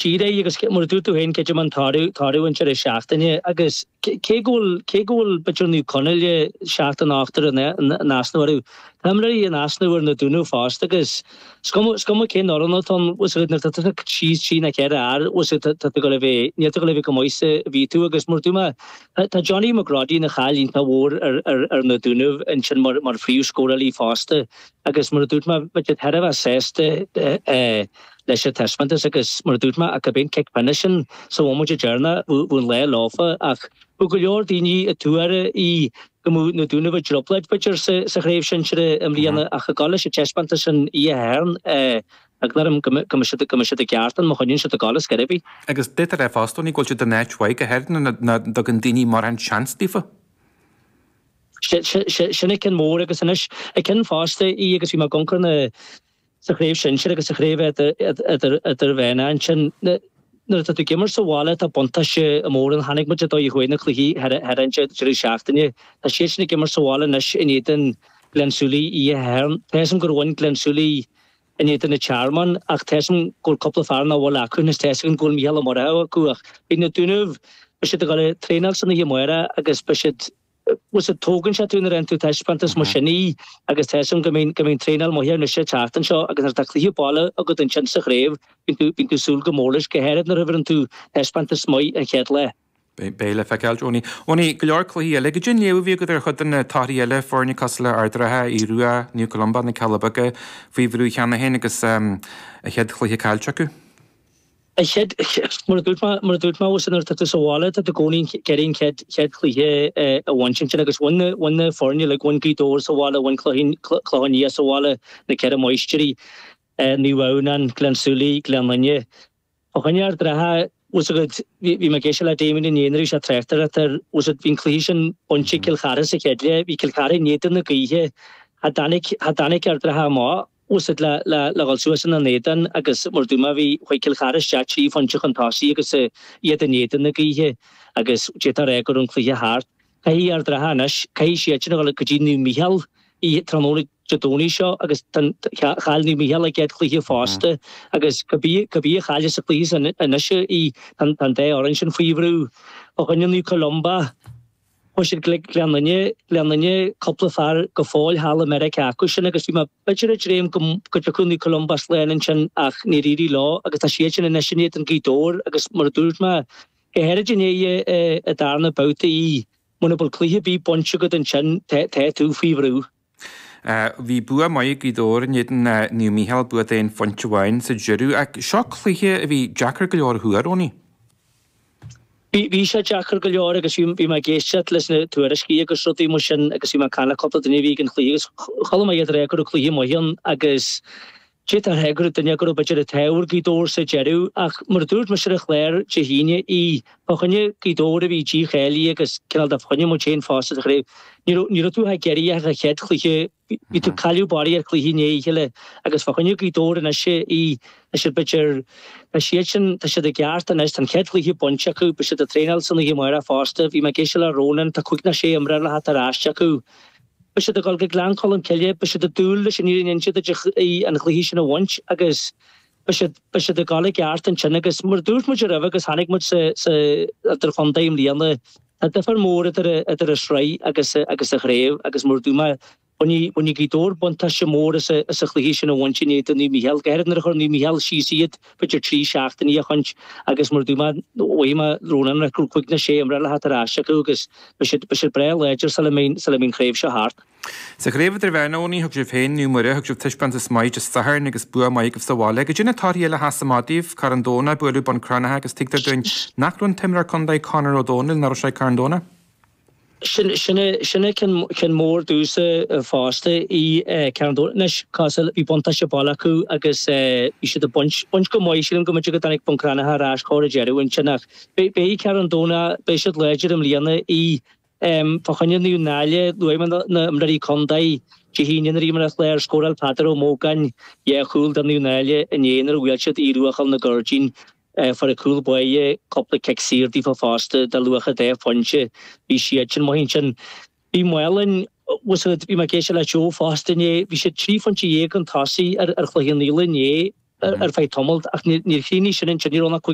Díreach, agus mar a dúirt tú féin, creidim an toradh, toradh an deireadh seachtaine agus cé go bhfuil, cé go bhfuil b'fhéidir Naomh Conaill seachtain in uachtar in easnamh orthu, tá imreoirí in easnamh ar na Dúnaibh fosta agus is cuma, is cuma cén fhoireann atá ann, bhfuil 's agat, nuair atá tusa síos trí nó cheithre fhear, bhfuil 's agat, tá tú ag dul a bheith, níl tú ag dul a bheith chomh maith is a bhí tú agus mar a dúirt mé, tá Johnny McGroddy ina cháil iontach mhór ar, ar, ar na Dúnaibh ansin mar, mar phríomhscórálaí fosta agus mar a dúirt mé, bheadh siad thar a bheith sásta eh, leis an taispeántas agus mar a dúirt mé ach gurb é an cic pionóis sin sa bhomaite deireanach bheadh an lá leofa ach bheadh go leor daoine ag tuar í go mbeadh na Dúnaibh i dtrioblóid b'fhéidir sa chraobh shinsir i mbliana ach ag dul leis an taispeántas sin oíche Shathairn eagla orm go mbeidh siad go mbeidh siad i gceart ann má choinníonn siad ag dul ar scor ar bith. Agus d'fhéadfá a rá fosta Tony go bhfuil siad in áit mhaith go háirithe nuair nach dtugann daoine mórán seans daofa. Sin an ceann mór agus anois an ceann fosta í agus bhí mé ag amharc ar na sa chraobh shinsir agus sa chraobh idirmheánach ansin. Nuair atá tú ag imirt sa bhaile tá buntáiste mór ann. Chonaic muid an dóigh a chuaigh na cluichí thar an deireadh seachtaine. Tá siadsan ag imirt sa bhaile anois in éadan Gleann tSúilí oíche Shathairn. Tá 'fhios a'm gur bhain Gleann Súilí in éadan an Tearmann ach tá 'fhios a'm go bhfuil cúpla fear nach bhfuil acu anois. Tá 'fhios agam go bhfuil Mícheál Ó Murchú acu ach beidh na Dúnaibh, beidh siad ag dul ag traenáil san oíche amárach agus beidh siad Bhfuil 's agat, tógann sé tú nuair a fhaigheann tú taispeántas mar sin í agus tá 'fhios a'm go mbíonn go mbíonn traenáil maith anois an tseachtain seo agus nuair atá cluiche baile agat ansin sa chraobh bíonn tú bíonn tú súil go mór leis, go háirid nuair a thabharann tú taispeántas maith an chéad lá. Beidh le feiceáil, Tony. Tony, go leor cluichí eile. Goidé an léamh a bhí agat ar chuid de na torthaí eile, foirne cosúil le Ard an Rátha, Aodh Rua, Naomh Columba, Na Cealla Beaga faoi bhrú cheana féin agus a chéad chluiche caillte acu? A chéad, mar a dúirt mé, mar a dúirt mé, bhfuil 's agat, nuair atá tú sa bhaile, tá tú i gcónaí ag iarraidh an chéad, chéad chluiche a bhaint ansin agus bhain na, bhain na foirne uilig, bhain Gaoth Dobhair sa bhaile, bhain Clochán Liath sa bhaile, na Ceithre Máistrí, Naomh Adhamhnáin, Gleann tSúilí, Gleann Fhinne. Fá choinne Ard an Rátha, bhfuil 's agat, bhí, bhí mé ag éisteacht le Damien inné nuair a bhí sé ag tráchtaireacht air, bhfuil 's agat, bhí an cluiche sin bainte ag Cill Chartha sa chéad leath, bhí Cill Chartha in éadan na gaoithe, cha dtáinig, cha dtáinig Ard an Rátha amach. Bhfuil 's agat le le dhul suas ina n-éadan agus mar a dúirt mé bhí chuaigh Cill Chartha isteach trí phointe chun tosaigh agus iad in éadan na gaoithe agus d'fhéadfá a rá go raibh an cluiche thart. Caithfidh Ard an Rátha anois, caithfidh siadsan a dhul go dtí Naomh Mícheál oíche tráthnóna Dé Domhnaigh seo agus chaill Naomh Mícheál a gcéad chluiche fosta agus cibé cibé a chailleas sa chluiche sin anois í tá an dá fhoireann sin faoi bhrú. Fá choinne Naomh Columba, Chuaigh siad go Gleann Fhinne, Gleann Fhinne, cúpla fear go fóill thall i Meiriceá acu sin agus bhí mé b'fhéidir ag dréim go go dtiocfadh Naomh Columba slán ansin ach níor éirigh leo agus tá siad sin anois in éadan Gaoth Dobhair agus mar a dúirt mé, go háirid i ndiaidh an darna babhta í, muna bhfuil cluiche ar bith bainte agat ansin tá tá tú faoi bhrú. Bhí bua maith ag Gaoth Dobhair in éadan Naomh Mícheál, bua d'aon phointe amháin sa deireadh. Ach seo cluiche a bhí deacair go leor a thuar, Owenie. Bhí, bhí sé deacair go leor agus bhí, bhí mé ag éisteacht leis na tuairiscí agus rudaí mar sin agus bhí mé ag caint le cúpla duine a bhí ag an chluiche agus chuala mé iad ag rá go raibh cluiche maith ann agus D'fhéadfá a rá go raibh duine go raibh b'fhéidir an t-ádh ar Ghaoth Dobhair sa deireadh ach mar a dúirt mise ar an chlár Dé hAoine í fá choinne Gaoth Dobhair a bhí dícháilithe agus cineál de fá choinne muid féin fosta sa chraobh. Ní raibh ní raibh tú ag iarraidh ach an chéad chluiche bhí tú cailleadh barraíocht cluichí i ndiaidh a chéile agus fá choinne Gaoth Dobhair anois í tá siad b'fhéidir tá siad sin tá siad i gceart anois tá an chéad chluiche bainte acu beidh siad ag traenáil san oíche amárach fosta bhí mé ag éisteacht le Ronan tá cúig nó sé imreoir le theacht ar ais acu. Beidh siad ag dul go Gleann Cholm Cille, beidh siad ag dúil leis an fhírinne a inse duit an chluiche sin a bhaint agus beidh siad, beidh siad ag dul i gceart ansin agus mar a dúirt muid roimhe agus chonaic muid sa, sa idirchontae i mbliana, tá difear mór idir, idir an sraith agus, agus an chraobh agus mar a dúirt mé, bhainfidh, bhainfidh Gaoth Dobhair buntáiste mór as, as an chluiche sin a bhaint in éadan Naomh Mícheál, go háirid nuair a chuir Naomh Mícheál síos iad b'fhéidir trí seachtainí ó shoin agus mar a dúirt mé, mhaígh mé Ronan go raibh cúig nó sé imreoir le theacht ar ais acu agus Beidh siad, beidh siad breá láidir sula mbeidh, sula mbeidh an chraobh seo thart. Sa chraobh idirmheánach, Owenie, thug sibh féin, Naomh Muire, thug sibh taispeántas maith Dé Sathairn agus bua maith agaibh sa bhaile. Goidé na torthaí eile a sheas amach daoibh, Carn Domhnach, buaileadh Bun Cranncha agus tuigtear dúinn nach raibh an t-imreoir contae Conor Ó Dónaill, nach raibh sé ag Carn Domhnach. Sin, sin é, sin é ceann, ceann mór domhsa fosta í Carn Domhnach. Anois, cosúil, bhí buntáiste baile acu agus bhí siad ag baint, baint go maith, sílim go mb'fhéidir go dtáinig Bun Cranncha ar ais chóir an deireadh ansin ach, Beidh Carn Domhnach, beidh siad láidir i mbliana í fá choinne Naomh Náille, luaigh mé na imreoirí contae Dé hAoine nuair a bhí mé ar an chlár, scóráil Peadar Ó Mógáin dhá chúl do Naomh Náille inné nuair a bhuail siad Aodh Rua Choill na Gairdín. Fuair an cúl báire cúpla cic saor daofa fosta de luach an dá phointe. Bhí siad sin maith ansin. Bhí Maolainn, bhí mé ag éisteacht le Joe fosta inné, bhí siad 13 phointe chun tosaigh ar Chloich Cheann Fhaola inné. ar feadh tamaill ach níor chríochnaigh sin ansin, ní raibh ann ach 5.